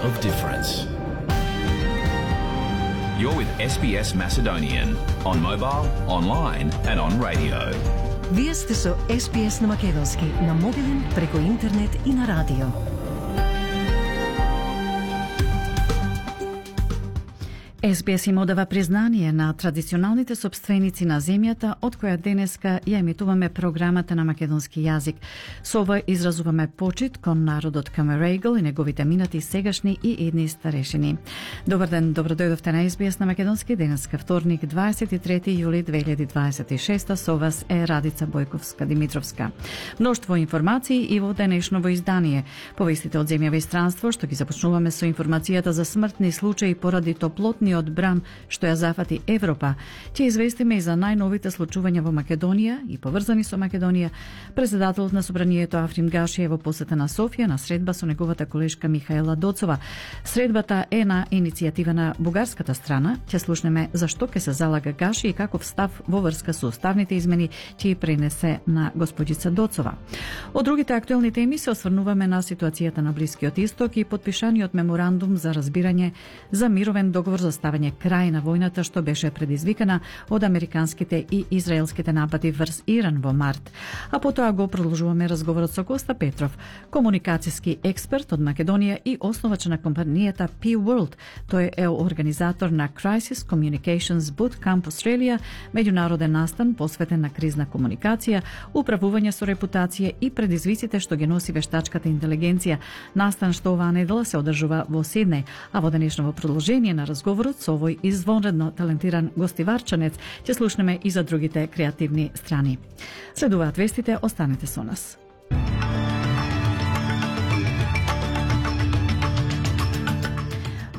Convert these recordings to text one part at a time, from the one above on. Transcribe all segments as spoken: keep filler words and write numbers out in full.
of difference. You're with S B S Macedonian on mobile, online and on radio. Вие сте со С Б С на македонски, на мобилен, преку интернет и на радио. С Б С им одава признание на традиционалните собственици на земјата, од која денеска ја емитуваме програмата на македонски јазик. Со ова изразуваме почит кон народот Камерегл и неговите минати, сегашни и идни старешини. Добар ден, добродојдовте на С Б С на македонски, денеска вторник, дваесет и трети јули две илјади дваесет и шеста. Со вас е Радица Бојковска-Димитровска. Мноштво информации и во денешново издание. Повестите од земја и странство, што ги започнуваме со информацијата за смртни случаи поради топлотни од бран што ја зафати Европа. Ќе известиме и за најновите случувања во Македонија и поврзани со Македонија. Председателот на собранието Африм Гаши е во посета на Софија на средба со неговата колешка Михаела Доцова. Средбата е на иницијатива на бугарската страна. Ќе слушнеме зашто ќе се залага Гаши и каков став во врска со уставните измени ќе ја пренесе на господица Доцова. Од другите актуелни теми се осврнуваме на ситуацијата на Блискиот Исток и подпишаниот меморандум за разбирање за мировен договор за ставање крај на војната што беше предизвикана од американските и израелските напади врз Иран во март. А потоа го продолжуваме разговорот со Коста Петров, комуникацијски експерт од Македонија и основач на компанијата P World. Тој е организатор на Crisis Communications Bootcamp Australia, меѓународен настан посветен на кризна комуникација, управување со репутација и предизвиците што ги носи вештачката интелигенција. Настан што оваа недела се одржува во Сиднеј, а во денешното продолжение на разговорот со овој извонредно талентиран гостиварчанец ќе слушнеме и за другите креативни страни. Следуваат вестите, останете со нас.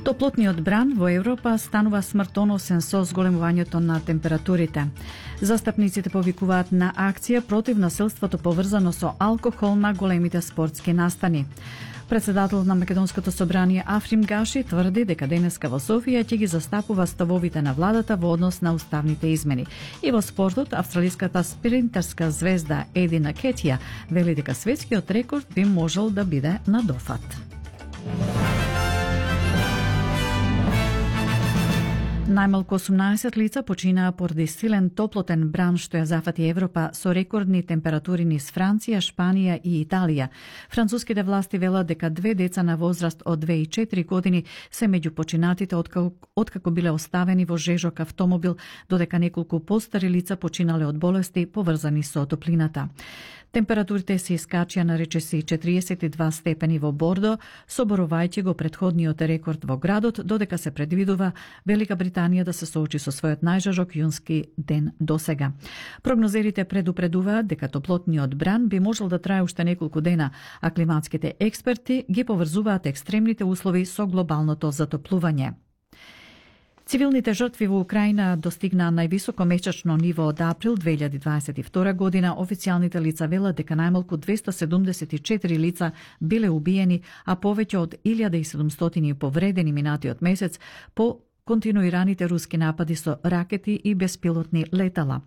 Топлотниот бран во Европа станува смртоносен со зголемувањето на температурите. Застапниците повикуваат на акција против насилството поврзано со алкохол на големите спортски настани. Председателот на Македонското собрание Африм Гаши тврди дека денеска во Софија ќе ги застапува ставовите на владата во однос на уставните измени. И во спортот, австралиската спринтерска звезда Едина Кетија вели дека светскиот рекорд би можел да биде на дофат. Најмалку осумнаесет лица починаа поради силен топлотен бран што ја зафати Европа со рекордни температури низ Франција, Шпанија и Италија. Француските власти велат дека две деца на возраст од две и четири години се меѓу починатите откако, откако биле оставени во жежок автомобил, додека неколку постари лица починале од болести поврзани со топлината. Температурите се искачија на речиси четириесет и два степени во Бордо, соборувајќи го претходниот рекорд во градот, додека се предвидува Велика Британија да се соочи со својот најжажок јунски ден досега. Прогнозерите предупредуваат дека топлотниот бран би можел да трае уште неколку дена, а климатските експерти ги поврзуваат екстремните услови со глобалното затоплување. Цивилните жртви во Украина достигнаа највисоко месечно ниво од април две илјади дваесет и втора година. Официјалните лица велат дека најмалку двесте седумдесет и четири лица биле убиени, а повеќе од илјада и седумстотини повредени минатиот месец по континуираните руски напади со ракети и беспилотни летала.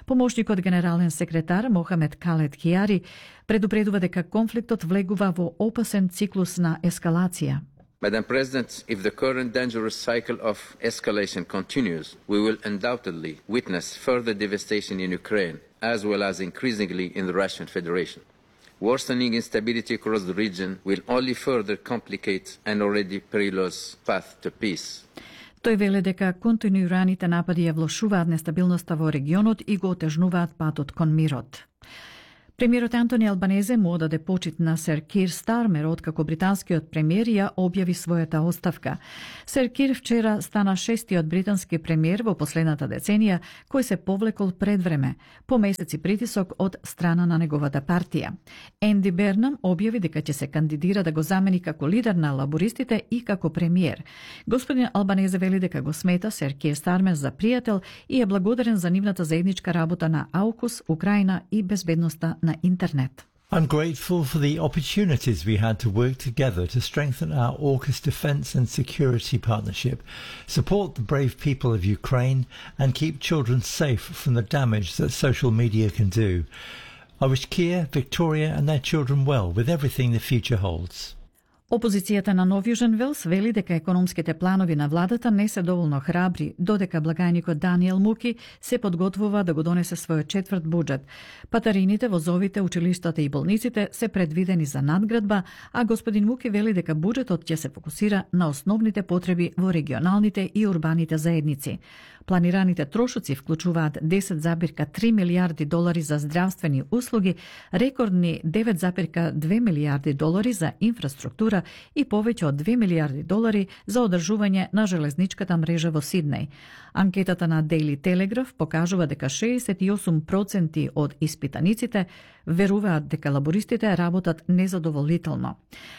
Помошникот генерален секретар Мохамед Калет Кијари предупредува дека конфликтот влегува во опасен циклус на ескалација. Madam President, if the current dangerous cycle of escalation continues, we will undoubtedly witness further devastation in Ukraine, as well as increasingly in the Russian Federation. Worsening instability across the region will only further complicate an already perilous path to peace. Тој веле дека континуираните напади ја влошуваат нестабилноста во регионот и го отежнуваат патот кон мирот. Премиерот Антони Албанезе му одаде почит на Сер Кир Стармер откако британскиот премиер ја објави својата оставка. Сер Кир вчера стана шестиот британски премиер во последната деценија кој се повлекол пред време, по месеци притисок од страна на неговата партија. Енди Бернам објави дека ќе се кандидира да го замени како лидер на лабористите и како премиер. Господин Албанезе вели дека го смета Сер Кир Стармер за пријател и е благодарен за нивната заедничка работа на Аукус, Украина и безбедноста на интернет. I'm grateful for the opportunities we had to work together to strengthen our AUKUS defence and security partnership, support the brave people of Ukraine, and keep children safe from the damage that social media can do. I wish Kia, Victoria and their children well with everything the future holds. Опозицијата на Нов Јужен Велс вели дека економските планови на владата не се доволно храбри, додека благајникот Даниел Муки се подготвува да го донесе својот четврт буџет. Патарините, возовите, училиштата и болниците се предвидени за надградба, а господин Муки вели дека буџетот ќе се фокусира на основните потреби во регионалните и урбаните заедници. Планираните трошоци вклучуваат десет зарез три милијарди долари за здравствени услуги, рекордни девет зарез две милијарди долари за инфраструктура и повеќе од две милијарди долари за одржување на железничката мрежа во Сиднеј. Анкетата на Daily Telegraph покажува дека шеесет и осум проценти од испитаниците веруваат дека лабористите работат незадоволително.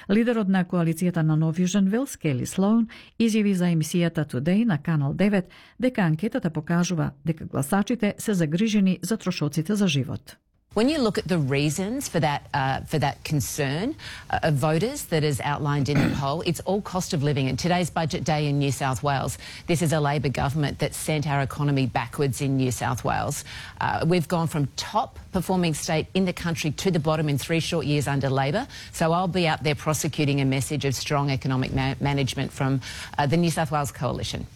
Лидерот на коалицијата на Нов Јужен Велс, Келли Слоун, изјави за емисијата Today на Канал девет дека анкетата покажува дека гласачите се загрижени за трошоците за живот. When you look at the reasons for that uh, for that concern uh, of voters that is outlined in the poll, it's all cost of living. And today's budget day in New South Wales, this is a Labor government that sent our economy backwards in New South Wales. Uh, we've gone from top performing state in the country to the bottom in three short years under Labor. So I'll be out there prosecuting a message of strong economic ma- management from uh, the New South Wales Coalition.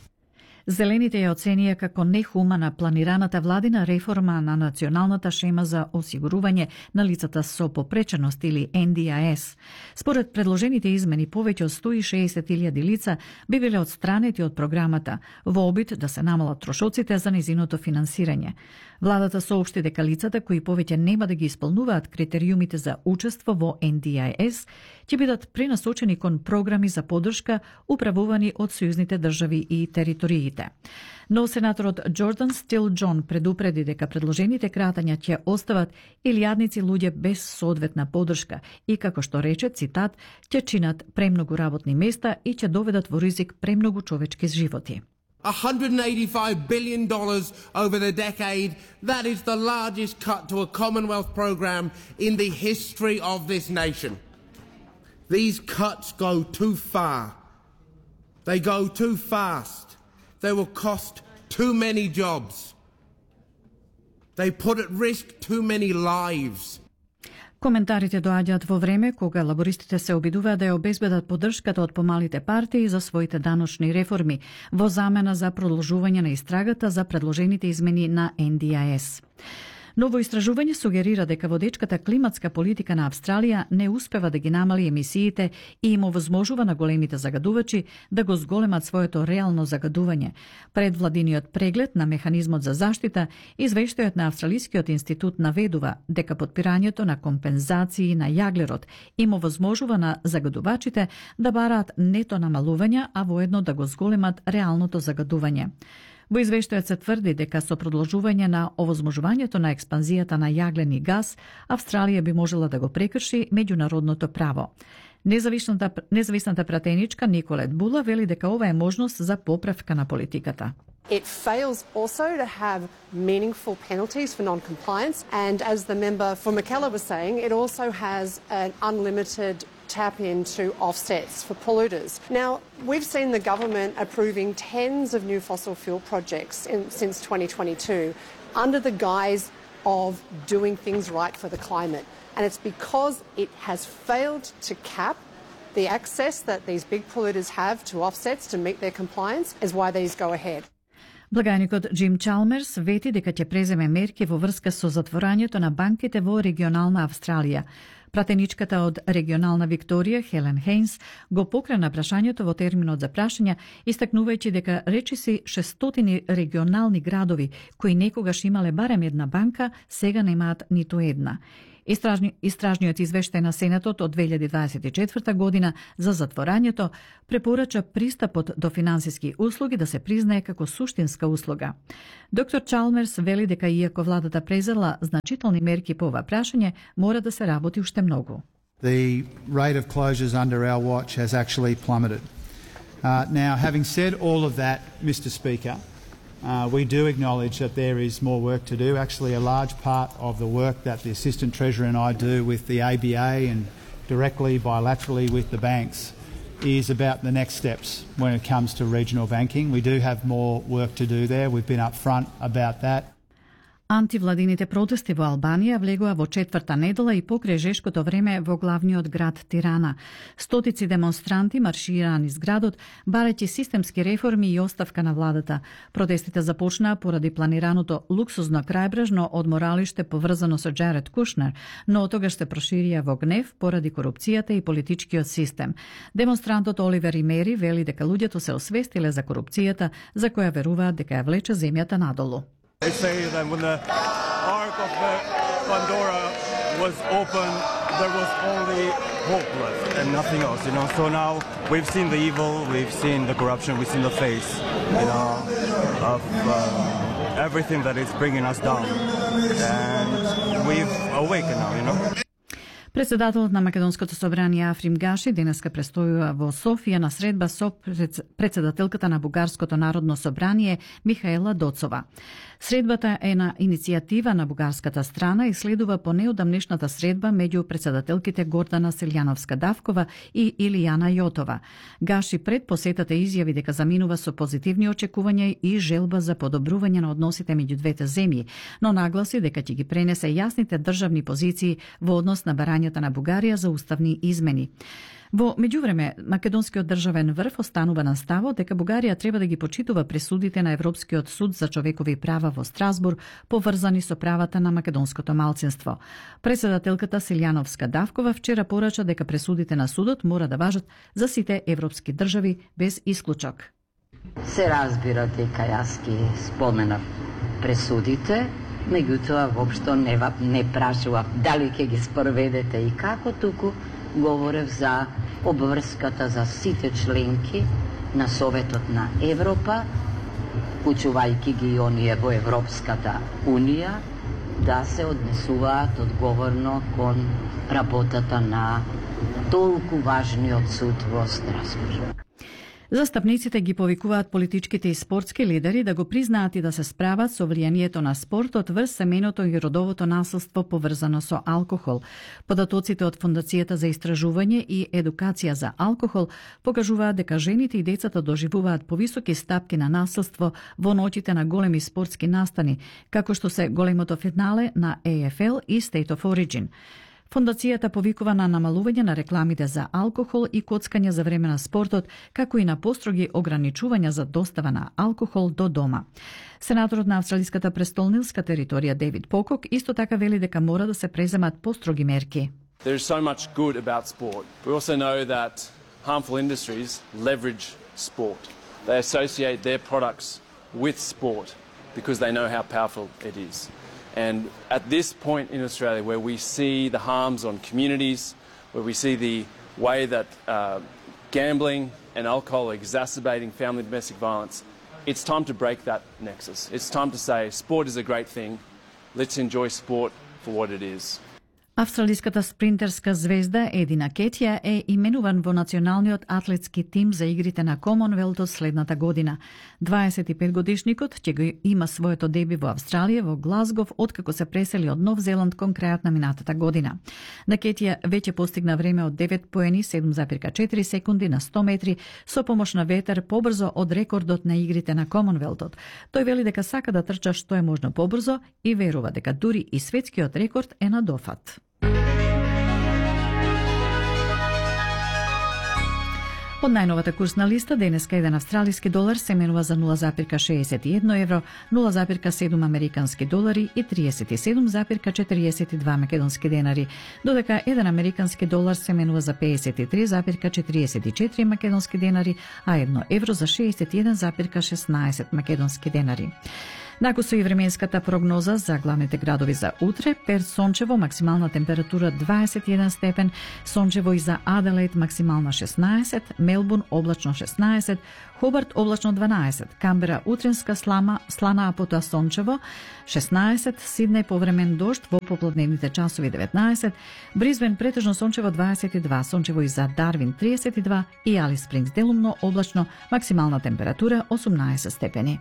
Зелените ја оценија како нехумана планираната владина реформа на националната шема за осигурување на лицата со попреченост или Н Д I S. Според предложените измени, повеќе од сто и шеесет илјади лица би биле отстранети од програмата во обид да се намалат трошоците за незиното финансирање. Владата соопшти дека лицата кои повеќе нема да ги исполнуваат критериумите за учество во Н Д I S ќе бидат пренасочени кон програми за поддршка управувани од сојузните држави и териториите. Но сенаторот Джордан Стил Џон предупреди дека предложените кратања ќе остават илјадници луѓе без соодветна поддршка и, како што рече, цитат, ќе чинат премногу работни места и ќе доведат во ризик премногу човечки животи. one hundred eighty-five billion dollars over the decade. That is the largest cut to a Commonwealth program in the history of this nation. These cuts go too far. They go too fast. They will cost too many jobs. They put at risk too many lives. Коментарите доаѓаат во време кога лабористите се обидуваат да ја обезбедат поддршката од помалите партии за своите даночни реформи во замена за продолжување на истрагата за предложените измени на Н Д I S. Ново истражување сугерира дека водечката климатска политика на Австралија не успева да ги намали емисиите и им овозможува на големите загадувачи да го зголемат своето реално загадување. Пред владиниот преглед на механизмот за заштита, извештајот на Австралискиот институт наведува дека подпирањето на компензации на јаглерод им овозможува на загадувачите да бараат нето намалување, а воедно да го зголемат реалното загадување. Во извештајот се тврди дека со продолжување на овозможувањето на експанзијата на јаглени газ, Австралија би можела да го прекрши меѓународното право. Независната, независната пратеничка Николет Була вели дека ова е можност за поправка на политиката. It fails also to have meaningful penalties for non-compliance, and as the member for Mackellar was saying, it also has an unlimited tap into offsets for polluters. Now, we've seen the government approving tens of new fossil fuel projects in, since twenty twenty-two under the guise of doing things right for the climate. And it's because it has failed to cap the access that these big polluters have to offsets to meet their compliance is why these go ahead. Благајникот Джим Чалмерс вети дека ќе преземе мерки во врска со затворањето на банките во регионална Австралија. Пратеничката од регионална Викторија, Хелен Хейнс, го покрена прашањето во терминот за прашања, истакнувајќи дека речиси шестстотини регионални градови кои некогаш имале барем една банка, сега немаат ниту една. Истражни, истражниот извештај на Сенатот од две илјади дваесет и четврта година за затворањето препорача пристапот до финансиски услуги да се признае како суштинска услуга. Доктор Чалмерс вели дека иако владата презела значителни мерки по ова прашање, мора да се работи уште многу. The rate of closures under our watch has actually plummeted. Uh, now, having said all of that, Mister Speaker, Uh, we do acknowledge that there is more work to do. Actually, a large part of the work that the Assistant Treasurer and I do with the A B A and directly, bilaterally with the banks is about the next steps when it comes to regional banking. We do have more work to do there. We've been upfront about that. Антивладините протести во Албанија влегоа во четврта недела и покрај жешкото време во главниот град Тирана. Стотици демонстранти маршираа низ градот, барајќи системски реформи и оставка на владата. Протестите започнаа поради планираното луксузно крајбрежно одморалиште поврзано со Джаред Кушнер, но отогаш се проширија во гнев поради корупцијата и политичкиот систем. Демонстрантот Оливер Имери вели дека луѓето се освестиле за корупцијата, за која веруваат дека ја влече земјата надолу. They say that when the Ark of Pandora was open, there was only hopeless and nothing else, you know. So now we've seen the evil, we've seen the corruption, we've seen the face, you know, of uh, everything that is bringing us down. And we've awakened now, you know. Председателот на Македонското собрание Африм Гаши денеска престојува во Софија на средба со председателката на Бугарското народно собрание Михаела Доцова. Средбата е на иницијатива на бугарската страна и следува по неодамнешната средба меѓу председателките Гордана Селјановска-Давкова и Илијана Јотова. Гаши пред посетата изјави дека заминува со позитивни очекувања и желба за подобрување на односите меѓу двете земји, но нагласи дека ќе ги пренесе јасните државни позиции во однос на барањата на Бугарија за уставни измени. Во меѓувреме, Македонскиот државен врв останува на ставот дека Бугарија треба да ги почитува пресудите на Европскиот суд за човекови права во Страсбур, поврзани со правата на македонското малцинство. Председателката Селјановска-Давкова вчера порача дека пресудите на судот мора да важат за сите европски држави без исклучок. Се разбира дека јас ги споменав пресудите, меѓутоа воопшто не, не прашував дали ќе ги спроведете и како, туку говорев за обврската за сите членки на Советот на Европа, учувајќи ги оние во Европската Унија, да се однесуваат одговорно кон работата на толку важниот суд во Страсбург. Застапниците ги повикуваат политичките и спортски лидери да го признаат и да се справат со влијанието на спортот врз семеното и родовото насилство поврзано со алкохол. Податоците од Фондацијата за истражување и едукација за алкохол покажуваат дека жените и децата доживуваат повисоки стапки на насилство во ноќите на големи спортски настани, како што се големото финале на Е Еф Ел и State of Origin. Фондацијата повикува на намалување на рекламите за алкохол и коцкање за време на спортот, како и на построги ограничувања за достава на алкохол до дома. Сенаторот на австралиската престолнилска територија Дейвид Покок исто така вели дека мора да се преземат построги мерки. There is so much good about sport. We also know that harmful industries leverage sport. They associate their products with sport because they know how powerful it is. And at this point in Australia, where we see the harms on communities, where we see the way that uh, gambling and alcohol are exacerbating family and domestic violence, it's time to break that nexus. It's time to say sport is a great thing. Let's enjoy sport for what it is. Австралиската спринтерска звезда Едина Кетија е именуван во националниот атлетски тим за игрите на Комонвелтот следната година. дваесет и пет годишникот ќе го има своето деби во Австралија во Глазгов откако се пресели од Нов Зеланд кон крајот на минатата година. На Кетија веќе постигна време од девет поени, седум зарез и четири секунди на сто метри со помош на ветер побрзо од рекордот на игрите на Комонвелтот. Тој вели дека сака да трча што е можно побрзо и верува дека дури и светскиот рекорд е на дофат. Од најновата курсна листа, денеска еден австралиски долар се менува за нула зарез шеесет и едно евро, нула зарез седум американски долари и триесет и седум зарез четириесет и два македонски денари, додека еден американски долар се менува за пеесет и три зарез четириесет и четири македонски денари, а едно евро за шеесет и еден зарез шеснаесет македонски денари. Накусо и временската прогноза за главните градови за утре: Перт сончево, максимална температура дваесет и еден степен, сончево и за Аделаид максимална шеснаесет, Мелбурн облачно шеснаесет, Хобарт облачно дванаесет, Камбера утринска слама, слана а потоа сончево шеснаесет, Сиднеј повремен дожд во попладневните часови деветнаесет, Бризбен претежно сончево дваесет и два, сончево и за Дарвин триесет и два и Алис Спрингс делумно облачно, максимална температура осумнаесет степени.